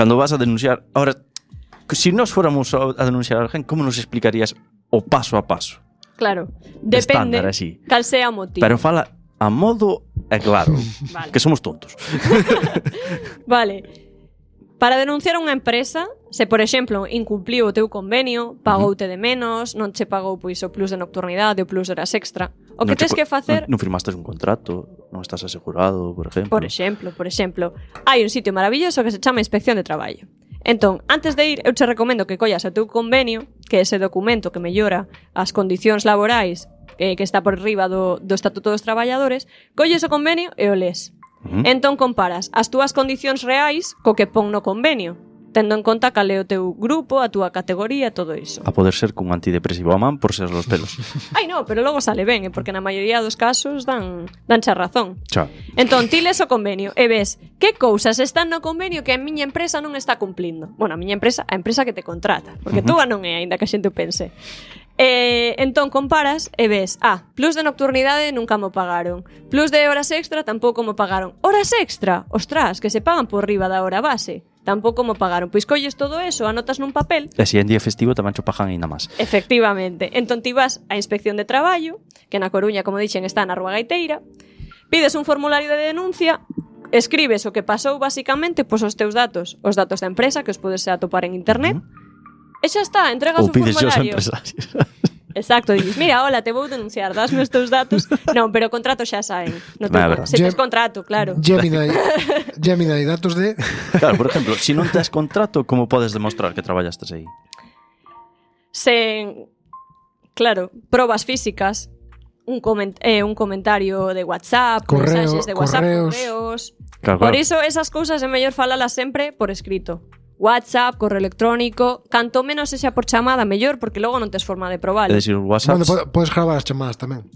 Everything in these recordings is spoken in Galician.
Cando vas a denunciar... Ahora, si nos fuéramos a denunciar a alguén, como nos explicarías o paso a paso? Claro, depende Estándar, así. cal sea o motivo. Pero fala a modo claro, Vale. que somos tontos. Vale. Para denunciar unha empresa, se, por exemplo, incumpliu o teu convenio, pagoute de menos, non che pagou pois o plus de nocturnidade, o plus de horas extra, o que tens que facer... Non firmastes un contrato, non estás asegurado, por exemplo. Por exemplo, hai un sitio maravilloso que se chama Inspección de Traballo. Entón, antes de ir, eu te recomendo que collas o teu convenio, que é ese documento que mellora as condicións laborais que está por riba do Estatuto dos Traballadores, colles o convenio e o les. Entón comparas as túas condicións reais co que pon no convenio, tendo en conta cal é o teu grupo, a túa categoría, todo iso. A poder ser cun antidepresivo a man por ser los pelos. Ai, no, pero logo sale ben, porque na maioría dos casos danche a razón. Xa. Entón, ti les o convenio e ves que cousas están no convenio que a miña empresa non está cumplindo. Bueno, a miña empresa, a empresa que te contrata, porque túa non é, aínda que a xente o pense. Entón comparas e ves, plus de nocturnidade nunca mo pagaron, plus de horas extra tampouco mo pagaron. Horas extra? Ostras, que se pagan por riba da hora base, tampouco mo pagaron. Pois colles todo eso, anotas nun papel. E se en día festivo tamén cho pagan ainda máis. Efectivamente. Entón ti vas á Inspección de Traballo, que na Coruña, como dixen, está na Rúa Gaiteira, pides un formulario de denuncia, escribes o que pasou basicamente, pois os teus datos, os datos da empresa, que os podes atopar en internet, e xa está, entregas un formulario. Exacto, dices, mira, hola, te vou denunciar, dasme os teus datos. Non, pero o contrato xa saen. No se tes contrato, claro. Gemini, datos de... Claro, por exemplo, se non tes contrato, como podes demostrar que traballastes aí? Claro, probas físicas, un comentario de WhatsApp, mensaxes de WhatsApp, correos. Claro. Por iso, esas cousas é mellor falalas sempre por escrito. WhatsApp, correo electrónico, canto menos sexa por chamada, mellor, porque logo non tes forma de probalo. É dicir, WhatsApp... Bueno, podes gravar as chamadas tamén.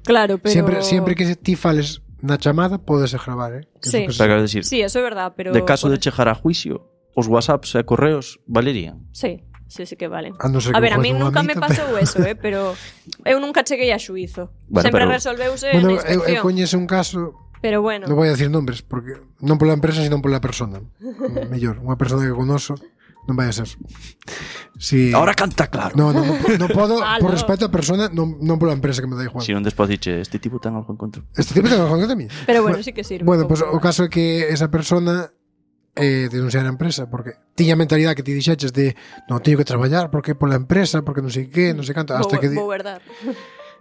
Claro, pero... Siempre que ti fales na chamada, podes gravar, Sí. Decir, sí, eso é verdad, pero... De caso de chegar a juicio, os WhatsApps e correos valerían? Sí que valen. A ver, a mí nunca me pasou eso, pero eu nunca cheguei a xuízo. Bueno, sempre pero... resolveuse na inspección. Eu coñezo un caso... Pero bueno. Non vou a decir nombres, porque non pola empresa, sino pola persona. Mellor, unha persona que conoso non vai a ser. Ahora canta claro. Non podo, por respeto á persona, non pola empresa, que me dá igual. Si non despois diche, este tipo ten algo en contra. Este tipo ten algo en contra de mí. Pero bueno, sí que sirve. Bueno, pues o caso é que esa persona denunciar a empresa, porque tiña a mentalidade que ti dixeches de non, teño que traballar, porque pola empresa, porque non sei que, non sei canto, vou verdad.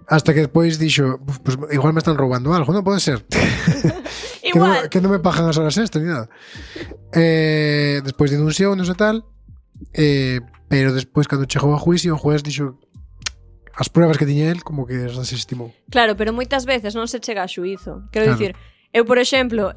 Hasta que despois dixo, pues igual me están roubando algo, non pode ser. Igual. Que non me pagan as horas extra ni nada. Despois denunciou, non sei tal, pero despois cando chegou a juicio, o juez dixo as pruebas que tiña el como que as desestimou. Claro, pero moitas veces non se chega a xuízo. Quero dicir, eu, por exemplo,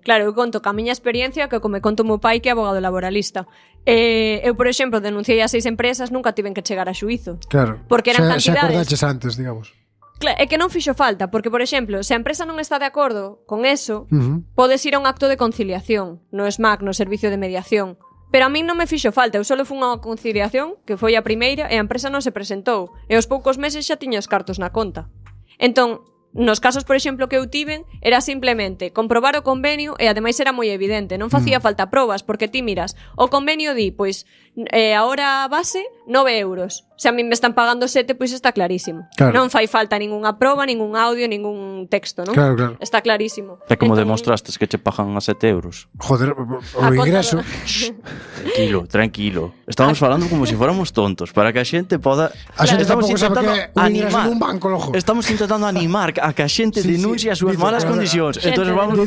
claro, eu conto ca miña experiencia, que me conto o meu pai, que é abogado laboralista. Eu, por exemplo, denunciei a 6 empresas, nunca tiven que chegar a xuízo. Claro, porque eran cantidades... xa acordaches antes, digamos. Claro, é que non fixo falta, porque, por exemplo, se a empresa non está de acordo con eso, podes ir a un acto de conciliación no SMAC, no Servicio de Mediación. Pero a min non me fixo falta, eu só fui unha conciliación, que foi a primeira, e a empresa non se presentou, e aos poucos meses xa tiña os cartos na conta. Entón, nos casos, por exemplo, que eu tiven, era simplemente comprobar o convenio e ademais era moi evidente, non facía falta probas, porque ti miras, o convenio di, pois, a hora base, 9 euros. Se a mí me están pagando 7, pois está clarísimo. Claro. Non fai falta ningunha proba, ningún audio, ningún texto, non? Claro. Está clarísimo. É como demostrastes que che pagan a 7 euros. Joder, o ingreso. Tranquilo. Estamos falando como se fóramos tontos, para que a xente poda... A xente tampouco sabe que o ingreso animar. nun banco, lojo. Estamos intentando animar a que a xente denuncie as súas malas condicións. Entón vamos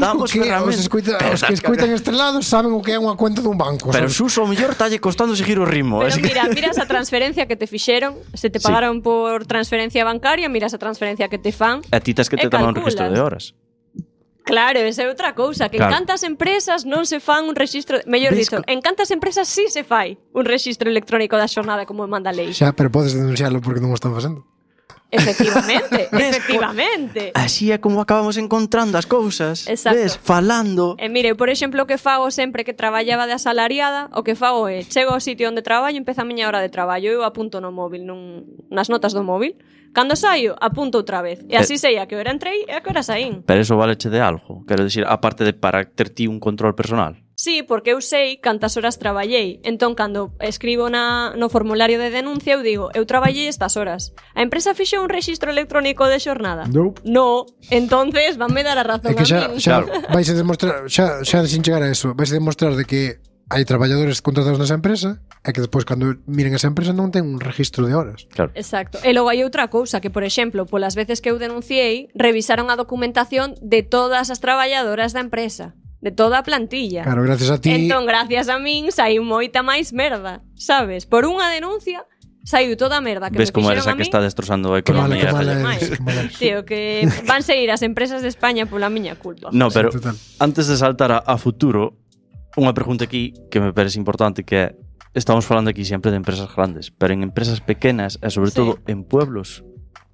damos ferramentas. Os que escoitan este lado saben o que é unha cuenta dun banco. Pero Suso, o mellor talle costando seguir o ritmo. Pero miras a transferencia que te fixeron, se te pagaron por transferencia bancaria, miras a transferencia que te fan. A ti tes que te tomar un registro de horas. Claro, esa é outra cousa, que en cantas empresas non se fan un registro, mellor dito, en cantas empresas sí se fai un registro electrónico da xornada como manda a lei. Xa, pero podes denunciarlo porque non o están facendo. Efectivamente. Así é como acabamos encontrando as cousas. Exacto. Ves, falando. Mire, por exemplo, o que fago sempre que traballaba de asalariada, o que fago é, chego ao sitio onde traballo, empeza a miña hora de traballo, eu apunto no móvil, nas notas do móvil. Cando saio, apunto outra vez. E así sei a que hora entrei e a que hora saín. Pero eso valeche de algo. Quero dicir, aparte de para ter ti un control personal. Sí, porque eu sei cantas horas traballei. Entón, cando escribo no formulario de denuncia, eu digo, eu traballei estas horas. A empresa fixo un rexistro electrónico de xornada? Nope. No. Entonces, vanme dar a razón É que a xa min. vais a demostrar, xa sin chegar a eso, vais a demostrar de que hai traballadores contratados nesa empresa e que despois cando miren esa empresa non ten un registro de horas. Claro. Exacto. E logo hai outra cousa que, por exemplo, polas veces que eu denunciei, revisaron a documentación de todas as traballadoras da empresa, de toda a plantilla. Claro, gracias a ti. Entón, gracias a min, saiu moita máis merda, sabes? Por unha denuncia, saiu toda a merda que Ves me como fixeron eres a a que min. está destrozando a Que mala, economía. que mala Raya. máis. eres, que mala eres. Tío, que van seguir as empresas de España pola miña culpa. No, pero Sí, total. antes de saltar a futuro, unha pregunta aquí que me parece importante, que é, estamos falando aquí sempre de empresas grandes, pero en empresas pequenas e sobre Sí. todo en pueblos,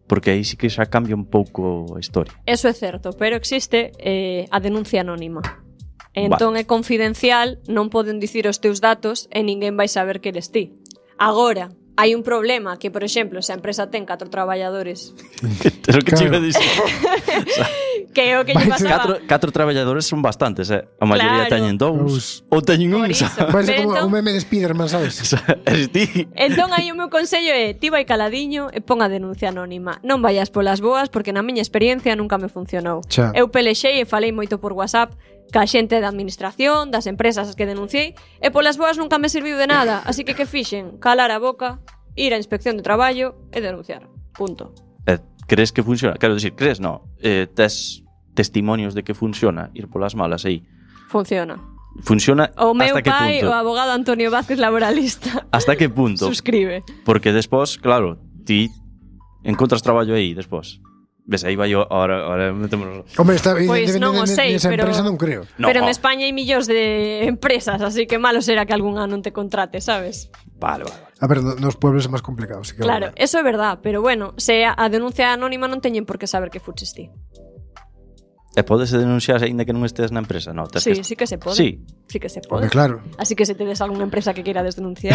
porque aí sí que xa cambia un pouco a historia. Eso é certo, pero existe a denuncia anónima. Entón é confidencial, non poden dicir os teus datos e ninguén vai saber que eres ti. Agora, hai un problema que, por exemplo, se a empresa ten 4 traballadores, É o que te iba a Claro. dicir. que é o que lle pasaba... Catro traballadores son bastantes, A maioría Claro. teñen dous ou teñen un, Por iso. sabes? Vai ser Pero como entón- un meme de Spiderman, sabes? Eres ti. Entón aí o meu consello é ti vai caladiño e pon a denuncia anónima. Non vayas polas boas porque na miña experiencia nunca me funcionou. Xa. Eu pelexei e falei moito por WhatsApp ca xente da administración, das empresas as que denunciei, e polas boas nunca me serviu de nada, así que fixen? Calar a boca, ir á inspección de traballo e denunciar. Punto. Crees que funciona? Quero dicir, crees, no. Tes testimonios de que funciona ir polas malas aí. Funciona. Funciona O meu hasta que pai, punto? o abogado Antonio Vázquez laboralista. Hasta que punto? Suscribe. Porque despois, claro, ti encontras traballo aí despois. Ves, aí vai ahora metémonos... Hombre, está Pois non o sei, esa pero- empresa non creo. No, Pero en España hai millóns de empresas, así que malo será que algunha non te contrate, sabes? Vale. A ver, nos pueblos é máis complicado, sí que Claro, eso é verdad, pero bueno, se a denuncia anónima non teñen por que saber que fuches ti. E podes denunciar aínda que non estés na empresa? No, tes Sí, que... sí que se pode. Sí. Sí que se Hombre, pode. claro. Así que se tedes algunha empresa que queira desdenunciar,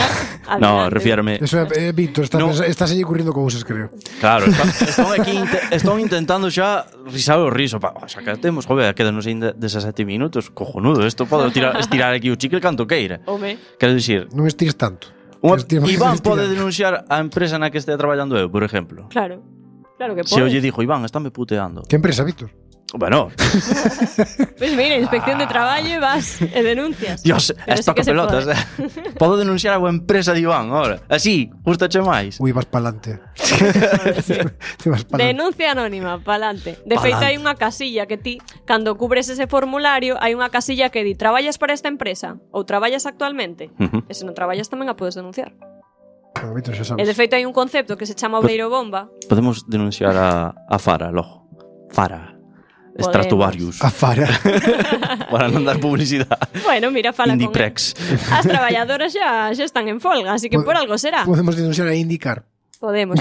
No, adelante. refiérame... Eso é Víctor, No. estás aí ocurrindo cousas, creo. Claro, están aquí están intentando xa risar o riso. O sea, que temos, joder, quedanos ainda 17 minutos. Cojonudo, isto podo estirar aquí o chicle canto queira. Home, Quero dicir, Non estires tanto. Iván pode denunciar a empresa na que estea traballando eu, por exemplo. claro. Claro que Se eu pode. lle dixo, Iván, estáme puteando. Que empresa, Víctor? Bueno, Pois mira, inspección de traballo e vas e denuncias. Dios, Pero esto sí que que se pelotas. pode. Podo denunciar a boa empresa de Iván, ahora. Así, gustache máis. Ui, vas pa'lante. Sí. Te vas pa'lante. Denuncia anónima, pa'lante. De feito, hai unha casilla que ti, cando cubres ese formulario, hai unha casilla que di traballas para esta empresa ou traballas actualmente. Ujú. E se non traballas tamén a podes denunciar. Bueno, Víctor, xa E de sabes. feito hai un concepto que se chama obreiro bomba. Podemos denunciar a Fara, logo. Fara. Stratovarius. A Fara. Para non dar publicidade. Bueno, mira, fala con Indiprex. As traballadoras xa están en folga, así que por algo será. Podemos denunciar a indicar. Podemos.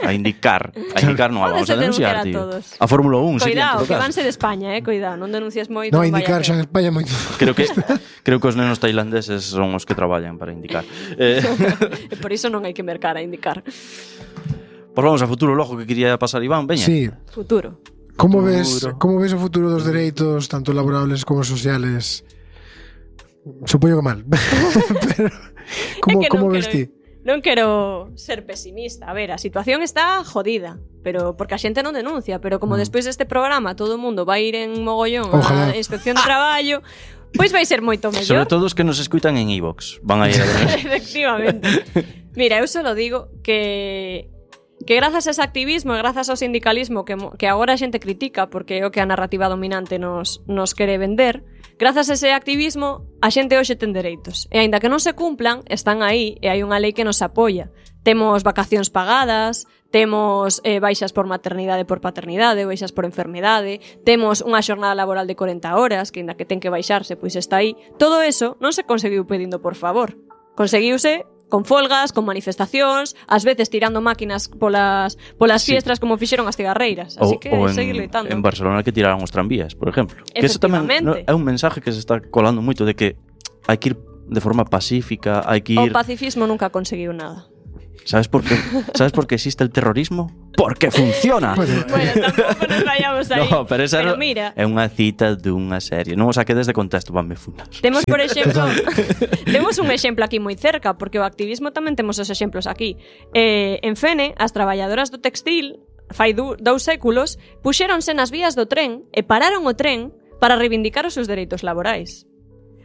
A indicar. A indicar non a vamos Podes a denunciar, denunciar a tío. todos. A Fórmula 1 sería, en Cuidado, todo que caso. vanse de España, cuidado, non denuncies moito. No, non indicar vaya xa en a España moito. Creo que os nenos tailandeses son os que traballan para indicar. E por iso non hai que mercar a indicar. Pois vamos a futuro logo que quería pasar Iván, veña. Sí. Futuro. Como Futuro. ves o futuro dos dereitos, tanto laborables como sociales? Supoño que mal. Pero, É que como non ves quero- ti? Non quero ser pesimista. A ver, a situación está jodida, pero porque a xente non denuncia, pero como despois deste programa todo o mundo vai ir en mogollón Ojalá. á inspección de traballo, pois vai ser moito Sobre mellor. todo os que nos escutan en iVox. Van a ir a ver. Efectivamente. Mira, eu só digo que grazas a ese activismo e grazas ao sindicalismo que agora a xente critica porque é o que a narrativa dominante nos quere vender, grazas a ese activismo a xente hoxe ten dereitos. E aínda que non se cumplan, están aí e hai unha lei que nos apoia. Temos vacacións pagadas, temos baixas por maternidade e por paternidade, baixas por enfermidade, temos unha xornada laboral de 40 horas, que aínda que ten que baixarse, pois está aí. Todo eso non se conseguiu pedindo por favor. Conseguiuse con folgas, con manifestacións, ás veces tirando máquinas polas Sí. fiestras como fixeron as cigarreiras. Así que seguir loitando. en Barcelona que tiraron os tranvías, por exemplo. Que eso tamén Efectivamente. é un mensaje que se está colando moito de que hai que ir de forma pacífica, hai que O ir... pacifismo nunca conseguiu nada. ¿Sabes por qué existe el terrorismo? Porque funciona. Bueno, tampouco nos vayamos aí. No, pero esa mira, é unha cita dunha serie. Non o saquedes de contexto, vanme funar. temos, por exemplo, temos un exemplo aquí moi cerca, porque o activismo tamén temos os exemplos aquí. En Fene, as traballadoras do textil, fai 2 séculos, puxéronse nas vías do tren e pararon o tren para reivindicar os seus dereitos laborais.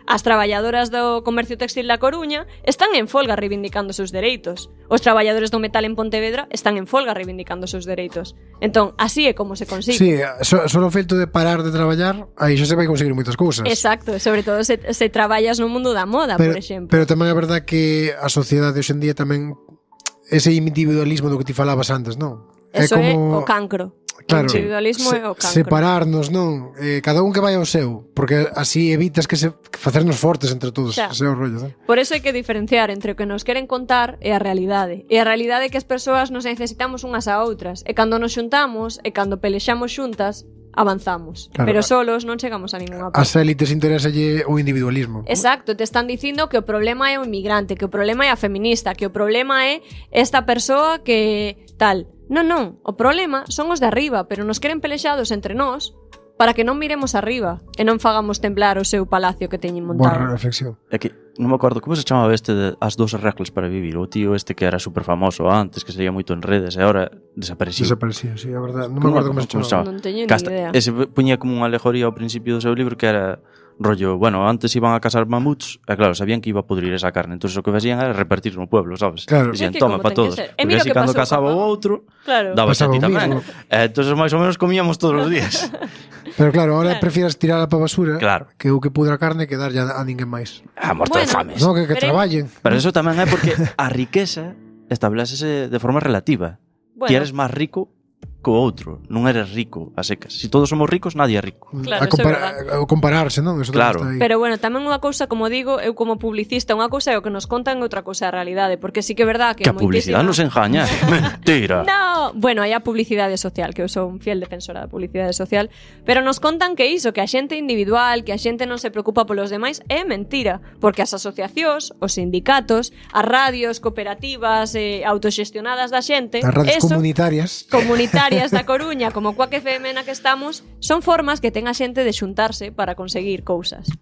As traballadoras do comercio textil da Coruña están en folga reivindicando os seus dereitos. Os traballadores do metal en Pontevedra están en folga reivindicando os seus dereitos. Entón, así é como se consigue. Sí, só o feito de parar de traballar, aí xa se vai conseguir moitas cousas. Exacto, sobre todo se traballas no mundo da moda, por exemplo. Pero tamén é verdad que a sociedade hoxe en día tamén ese individualismo do que ti falabas antes, non? Eso é o cancro. Claro, o individualismo é o cancro. separarnos, non? Cada un que vai ao seu, porque así evitas que facernos fortes entre todos, ese é o rollo, non? Por eso hai que diferenciar entre o que nos queren contar e a realidade. E a realidade é que as persoas nos necesitamos unhas a outras, e cando nos xuntamos e cando pelexamos xuntas, avanzamos. Claro. Pero solos non chegamos a ninguna parte. As élites interesalle o individualismo. Exacto, te están dicindo que o problema é o inmigrante, que o problema é a feminista, que o problema é esta persoa que tal. Non, o problema son os de arriba, pero nos queren pelexados entre nós para que non miremos arriba e non fagamos temblar o seu palacio que teñen montado. Boa reflexión. É que non me acordo como se chamaba este de As 2 reglas para vivir. O tío este que era super famoso antes, que sería moito en redes e agora desapareció. Desapareció, sí, a verdade. Non me acordo como se chamaba. Non teño ni idea. Ese puñía como unha alegoría ao principio do seu libro que era rollo, bueno, antes iban a cazar mamuts e claro, sabían que iba a pudrir esa carne, entonces o que facían era repartir no pueblo, sabes? Claro. Dicían, toma para todos. Porque así cando casaba o outro, daba a ti tamén. Entonces máis ou menos comíamos todos os días. Pero claro, ahora prefieres tirarla para basura, claro, que o que pudra a carne que darlle a ninguén máis. A morto de fames. No, que traballen. Pero eso tamén é porque a riqueza establecese de forma relativa. Ti eres máis rico co outro, non eres rico a secas. Si todos somos ricos, nadie é rico. Claro, o compararse, non? Eso claro. Pero bueno, tamén unha cousa, como digo, eu como publicista, unha cousa é o que nos contan e outra cousa é a realidade, porque sí que é verdad que a publicidade nos engaña. Mentira. No, bueno, hai a publicidade social, que eu sou un fiel defensora da publicidade social, pero nos contan que iso, que a xente individual, que a xente non se preocupa polos demais, é mentira, porque as asociacións, os sindicatos, as radios cooperativas autoxestionadas da xente, as radios comunitarias da Coruña, como Cuac FM na que estamos, son formas que ten a xente de xuntarse para conseguir cousas.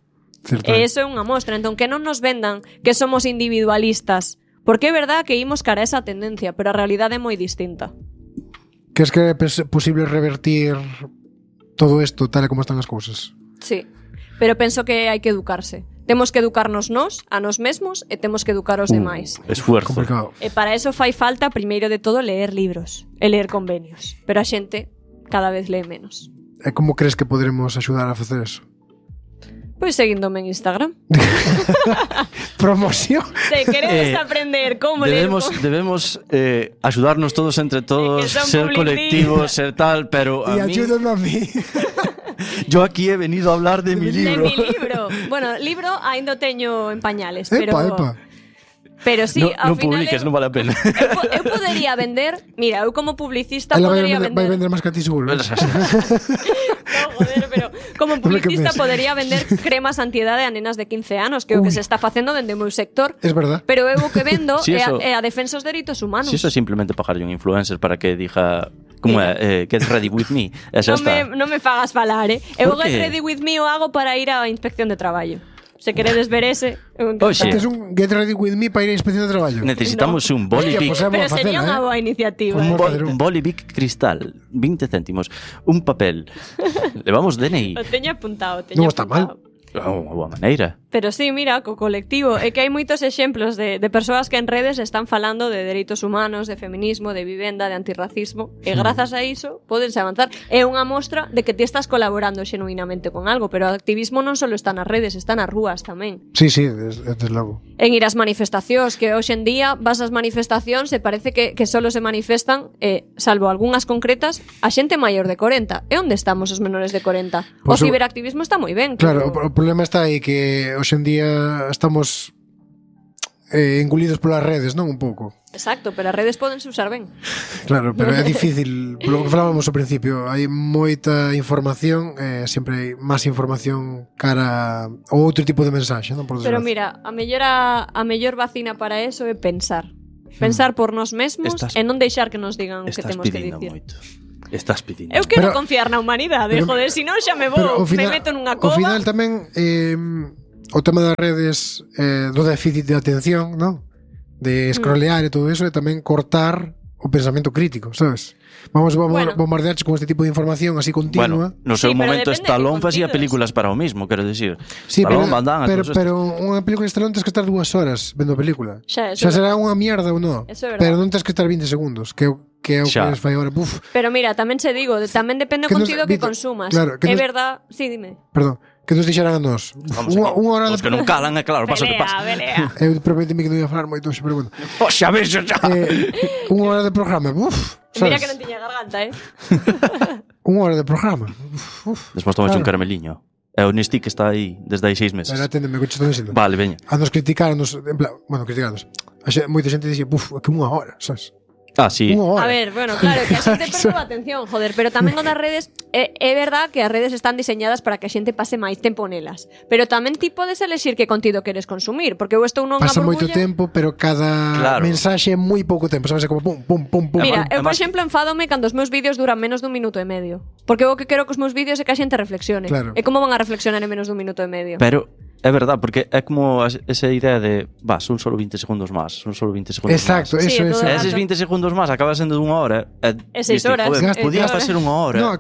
Certo. E iso é unha mostra. Entón, que non nos vendan que somos individualistas, porque é verdad que imos cara a esa tendencia, pero a realidade é moi distinta. Que es que é posible revertir todo isto tal e como están as cousas? Sí, pero penso que hai que educarse. Temos que educarnos nós, a nós mesmos, e temos que educar os demais. Esfuerzo. Complicado. E para eso fai falta, primeiro de todo, leer libros e leer convenios. Pero a xente cada vez lee menos. E como crees que poderemos axudar a facer eso? Pois seguíndome en Instagram. Promoción. Se queredes aprender como debemos axudarnos todos entre todos, ser colectivos, ser tal, pero a mí... Y ayúdame a mí. Yo aquí he venido a hablar de mi libro. De mi libro. Bueno, libro ainda o teño en pañales, pero... Epa. Pero sí, ao final publiques, non vale a pena. Eu podería vender, mira, eu como publicista podería vender. Vai vender máis que a ti seguro. No, joder, pero como publicista podería vender cremas antiedade a nenas de 15 anos, que é o que se está facendo dende o meu sector. Es verdad. Pero eu o que vendo é a defensa dos dereitos humanos. Si eso é simplemente pagarlle un influencer para que diga como é, get ready with me. Non me fagas falar, Eu get ready with me o hago para ir á inspección de traballo. Se queredes ver ese... Tes un Get Ready With Me para ir a inspección de traballo. Necesitamos un boli Bic. Pero sería unha boa iniciativa. Un boli Bic cristal, 20 céntimos. Un papel. Levamos DNI. O teño apuntado. Non está mal. Unha boa maneira. Pero sí, mira, co colectivo é que hai moitos exemplos de persoas que en redes están falando de dereitos humanos, de feminismo, de vivenda, de antirracismo, e grazas a iso podense avanzar. É unha mostra de que ti estás colaborando xenuinamente con algo, pero o activismo non só está nas redes, está nas rúas tamén. Sí, desde logo. En ir ás manifestacións, que hoxe en día vas ás manifestacións e parece que solo se manifestan, salvo algunhas concretas, a xente maior de 40. E onde estamos os menores de 40? O ciberactivismo está moi ben. Claro, o problema está aí que hoxe en día estamos engolidos polas redes, non? Un pouco. Exacto, pero as redes podense usar ben. Claro, pero é difícil. Polo que falábamos ao principio, hai moita información, sempre hai máis información cara a outro tipo de mensaxe, non? Por pero mira, a mellor vacina para eso é pensar. Pensar por nós mesmos Estás- e non deixar que nos digan o que Estás temos que pidindo dicir. moito. Estás pidindo. Eu quero Pero- confiar na humanidade, joder, se non xa me Pero vou, me meto nunha ao cova. final tamén o tema das redes do déficit de atención, ¿no? De scrollear e todo eso e tamén cortar o pensamento crítico, sabes? Vamos Bueno. bombardearche con este tipo de información así continua. Bueno, no seu Sí, pero momento depende de Stallone que facía contidos. películas para o mismo, quero dicir. Sí, pero, Stallone, Van Damme, pero, todos estos. pero unha película de Stallone tens que estar 2 horas vendo a película. Xa, Xa eso será unha mierda ou non. Eso é verdade. Pero non tens que estar 20 segundos, que é o que Xa. fai agora. Buf, Pero mira, tamén se digo, tamén depende do Que nos- contido que Víctor, consumas. claro, que É nos- verdad, sí, dime. perdón, que nos dixeran a nós. Vamos Unha aquí. hora Os que non calan, é claro, pasa o que pasa. Pelea. Eu prometeme que non ia falar moito, pero bueno. Oh, xa ves, xa. Unha hora de programa, Mira sabes? que non tiña garganta, Unha hora de programa. Despois tomas un Claro. carameliño. É o Nisti que está aí desde hai 6 meses. Pero aténdeme, que estou dicindo. Vale, veña. A nos criticarnos, en plan, bueno, criticarnos. Moita xente dixía, que unha hora, sabes? Ah, sí. Unha hora. A ver, bueno, claro, que a xente perdeu a atención, joder, pero tamén o das redes é verdad que as redes están diseñadas para que a xente pase máis tempo nelas, pero tamén ti podes elexir que contido queres consumir, porque eu estou nunha Pasa moito burbulla. tempo, pero cada Claro. mensaxe é moi pouco tempo, sabes? É como pum, pum, pum, pum. Mira, Además- eu por exemplo enfádome cando os meus vídeos duran menos dun minuto e medio, porque eu o que quero cos meus vídeos é que a xente reflexione. Claro. E como van a reflexionar en menos dun minuto e medio? Pero é verdad, porque é como esa idea de, son solo 20 segundos máis, son solo 20 segundos Exacto, máis. Sí, eso, é todo eso. E eses 20 segundos máis acaba sendo dunha hora. E 6 horas. Joder, podía Gastas- facer unha hora. No,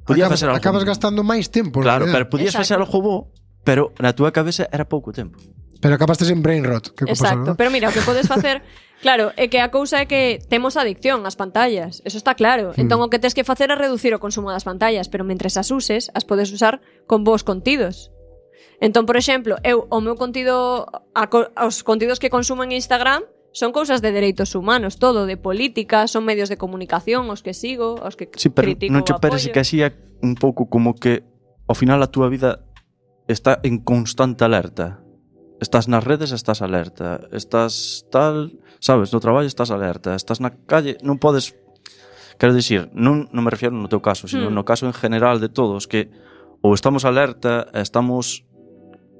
Podía facer algo. acabas gastando máis tempo, Claro, en pero realidad. podías Exacto. facer algo bo, pero na túa cabeza era pouco tempo. Pero acabaste en brain rot, que Exacto, pero mira, o que podes facer, claro, é que a cousa é que temos adicción ás pantallas, eso está claro. Entón o que tes que facer é reducir o consumo das pantallas, pero mentres as uses, as podes usar con bons contidos. Entón, por exemplo, eu o meu contido os contidos que consumo en Instagram son cousas de dereitos humanos, todo, de política, son medios de comunicación, os que sigo, os que Sí, pero critico non che o parece apoio. que así é un pouco como que ao final a túa vida está en constante alerta. Estás nas redes, estás alerta. Estás tal, sabes, no traballo estás alerta. Estás na calle, non podes. Quero dicir, non me refiero no teu caso, sino no caso en general de todos, que ou estamos alerta, estamos,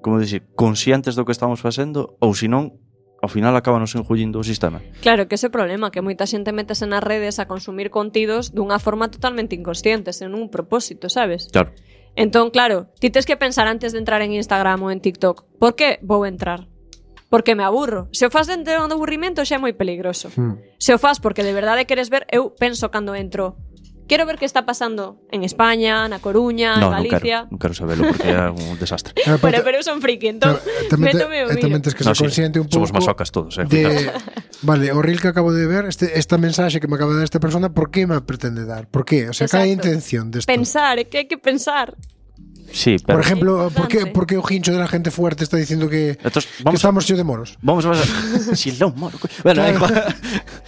como dicir, conscientes do que estamos facendo, ou senón, ao final acábanos enjullindo o sistema. Claro, que ese é o problema, que moita xente metese nas redes a consumir contidos dunha forma totalmente inconsciente, sen un propósito, sabes? Claro. Entón, claro, ti tes que pensar antes de entrar en Instagram ou en TikTok, por que vou entrar? Porque me aburro. Se o fas dentro do aburrimento xa é moi peligroso. Se o fas porque de verdade queres ver, eu penso cando entro, quero ver que está pasando en España, na Coruña, en Galicia. Non quero sabelo porque é un desastre. Pero eu son friki, entón, métome o tamén miro. tens que ser consciente un pouco somos masocas todos, de, vale, o reel que acabo de ver, esta mensaxe que me acaba de dar esta persona, por que me pretende dar? Por que? O sea, cal é a Exacto. intención desto? Pensar, é que hai que pensar. Sí, Por pero ejemplo, Importante. ¿por qué o hincho de la gente fuerte está diciendo que Entonces, que vamos estamos yo de moros? vamos a si lo moro. Bueno, Claro.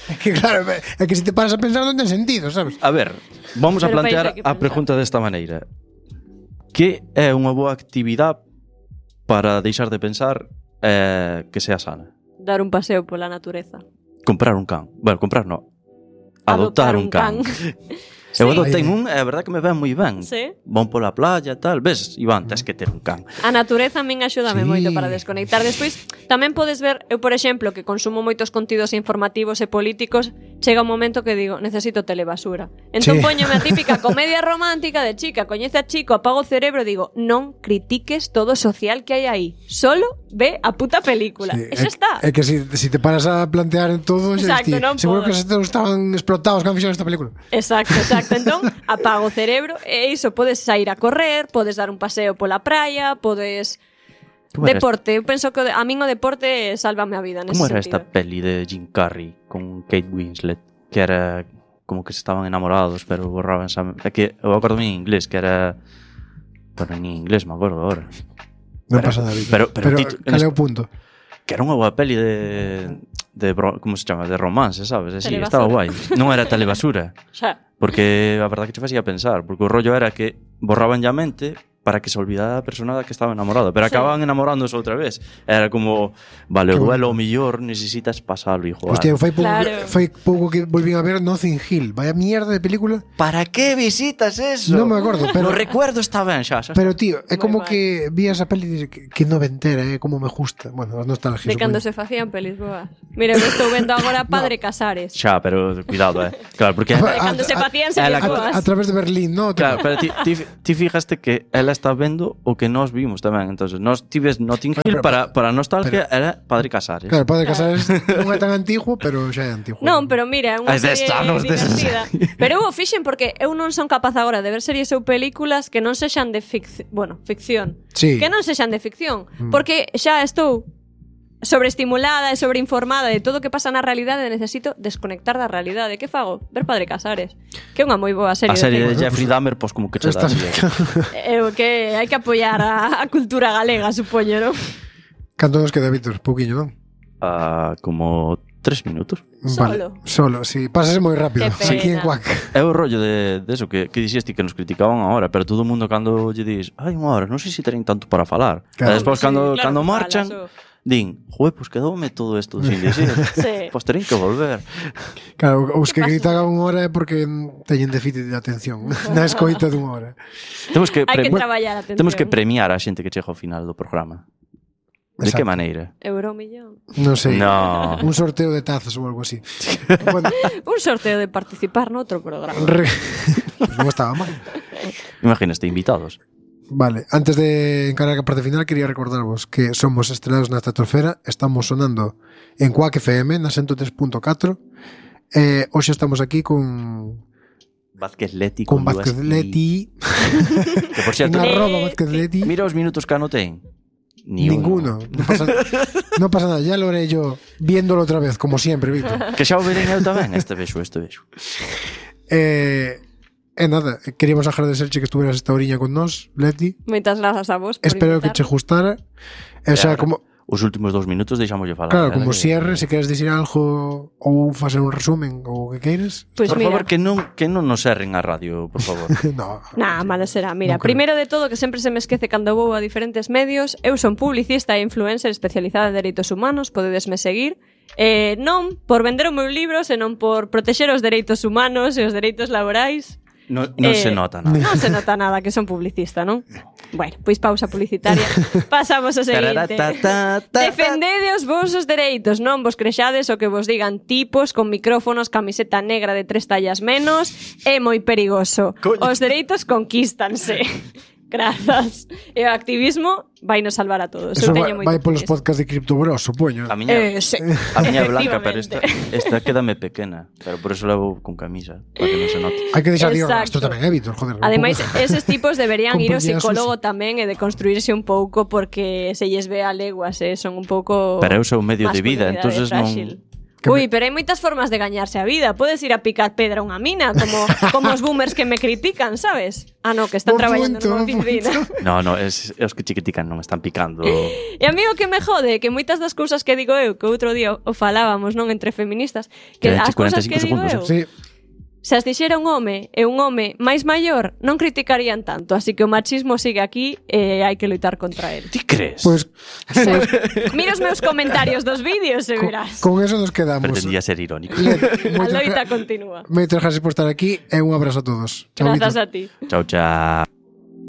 É que claro, é que se te paras a pensar non ten sentido, sabes? a ver, vamos a Pero plantear pensa que a pensar. pregunta desta maneira. Que é unha boa actividade para deixar de pensar que sea sana? Dar un paseo pola natureza. Comprar un can. Bueno, comprar no. Adoptar un can. Sí. Eu adoptei un, é verdad que me ven moi ben. Sí. Van pola playa, tal. Ves, Iván, tes que ter un can. A natureza a min axúdame Sí. moito para desconectar. Despois, tamén podes ver, eu por exemplo, que consumo moitos contidos informativos e políticos, chega un momento que digo, necesito telebasura. Entón Sí. poñome a típica comedia romántica de chica, coñece a chico, apago o cerebro, digo, non critiques todo o social que hai aí. Solo ve a puta película. Sí, E xa está. É que si te paras a plantear en todo, xa Exacto, diste, non seguro podo. que estaban explotados cando fixeron esta película. Exacto. Entón, apago o cerebro e iso, podes sair a correr, podes dar un paseo pola praia, podes... Como era Deporte, eu penso que a min o deporte sálvame a vida nese Como era sentido. esta peli de Jim Carrey con Kate Winslet? Que era como que se estaban enamorados, pero borraban esa... É que eu acordo en inglés, que era... Pero en inglés me acordo ahora. Non pasa nada. pero cal é o punto? Que era unha boa peli de como se chama? De romance, sabes? Así, Telebasura. estaba guai. Non era telebasura. Xa. Porque a verdade que te facía pensar. Porque o rollo era que borraban a mente para que se olvidara a persona que estaba enamorada. Pero Sí. acababan enamorándose outra vez. Era como, vale, o Que duelo o millor necesitas pasalo, hijo. Hostia, fai Claro. pouco que volvín a ver Notting Hill. Vaya mierda de película. ¿Para qué visitas eso? Non me acordo, pero No recuerdo está ben, xa. pero tío, é Moi como mal. que vi esa peli e dices, que noventera, como me gusta. Bueno, as nostalgias. De cando supoño. se facían pelis boas. Mira, eu estou vendo agora Padre Casares. Xa, pero cuidado, Claro, porque Cando se facían series boas. A través de Berlín, ¿no? Claro, pero ti fijaste que ela está vendo o que nós vimos tamén. Entonces, nós ti ves Notting Hill para nostalgia era Padre Casares. Claro, Padre Casares non é tan antiguo, pero xa é antiguo. Non, pero mira, é unha serie divertida. Pero eu o fixen porque eu non son capaz agora de ver series ou películas que non sexan de ficción. Sí. Que non sexan de ficción. Porque xa estou sobreestimulada e sobreinformada de todo o que pasa na realidade e necesito desconectar da realidade. Que fago? Ver Padre Casares. Que é unha moi boa serie. A serie de Jeffrey Dahmer, pois como que che dá. Que hai que apoiar a cultura galega, supoño, non? Canto nos queda, Víctor? Pouquiño, non? Como 3 minutos. Vale, solo, sí. Pásase moi rápido. Aquí en Cuac. É o rollo de eso que dixeste que nos criticaban agora, pero todo o mundo cando lle dis hai unha hora, non sei se teñen tanto para falar. Claro. E despois cando marchan din, joder, pues quedoume todo isto sin dicir. Sí. Pues terín que volver. Claro, os que gritaban unha hora é porque teñen déficit de atención na escoita dunha hora. Temos que hai que traballar a atención. Temos que premiar a xente que chega ao final do programa. De que maneira? Euromillón. Non sei. No. Un sorteo de tazas ou algo así. Bueno. Un sorteo de participar noutro programa. Pues non estaba mal. Imagínate, invitados. Vale, antes de encarar a parte final quería recordarvos que somos Estrelados na Estratosfera. Estamos sonando en Cuac FM na 103.4. Hoxe estamos aquí con Vázquez Leti. Con Vázquez Leti. Que por cierto, Vázquez Leti. Mira os minutos que anoten. Ninguno. No pasa nada. Ya lo haré yo viéndolo otra vez, como siempre, Víctor. Que xa o verén eu tamén. Este vexo. Nada, queríamos agradecerche que estuveras esta oriña con nós, Leti. Moitas grazas a vos por Espero invitar. que che gustara. Xa, como... Os últimos 2 minutos deixámoslle falar. Claro, como cierre, se queres dicir algo ou facer un resumen ou o que queires. Pues por mira. favor, que non nos erren a radio, por favor. No. Nah, malo será. Mira, primeiro de todo, que sempre se me esquece cando vou a diferentes medios, eu son publicista e influencer especializada en dereitos humanos, podedesme seguir. Non por vender o meu libro, senón por protexer os dereitos humanos e os dereitos laborais. Non se nota nada. Non se nota nada que son publicista, non? Bueno, pois pausa publicitaria. Pasamos ao seguinte. Defendede os vosos dereitos, non vos crexades o que vos digan tipos con micrófonos, camiseta negra de 3 tallas menos. É moi perigoso. Os dereitos conquístanse. Grazas. E o activismo vai nos salvar a todos. Eso Eu teño vai polos podcasts de Cripto Bros, supoño. A miña sí. A miña é blanca, pero esta quédame pequena. Pero por eso levo con camisa, para que non se note. Hai que deixar o Exacto. rastro tamén, Víctor, joder. Ademais, eses tipos deberían ir ao Compañía psicólogo tamén e de construirse un pouco porque se lles ve a leguas, son un pouco Pero eu sou medio de vida, entonces non... Ui, pero hai moitas formas de gañarse a vida. Podes ir a picar pedra a unha mina, como os boomers que me critican, sabes? Ah, no, que están traballando nunha oficina. No, os que che critican non me están picando. E a mí o que me jode, que moitas das cousas que digo eu, que outro día o falábamos, non, entre feministas, que as cousas que digo eu, sí. se as dixera un home e un home máis maior, non criticarían tanto, así que o machismo sigue aquí e hai que loitar contra ele. Ti crees? Pues mira os meus comentarios dos vídeos e verás. Con eso nos quedamos. Pretendía ser irónico. A loita continúa. Moitas gracias por estar aquí e un abrazo a todos. Grazas a ti. Chao, chao.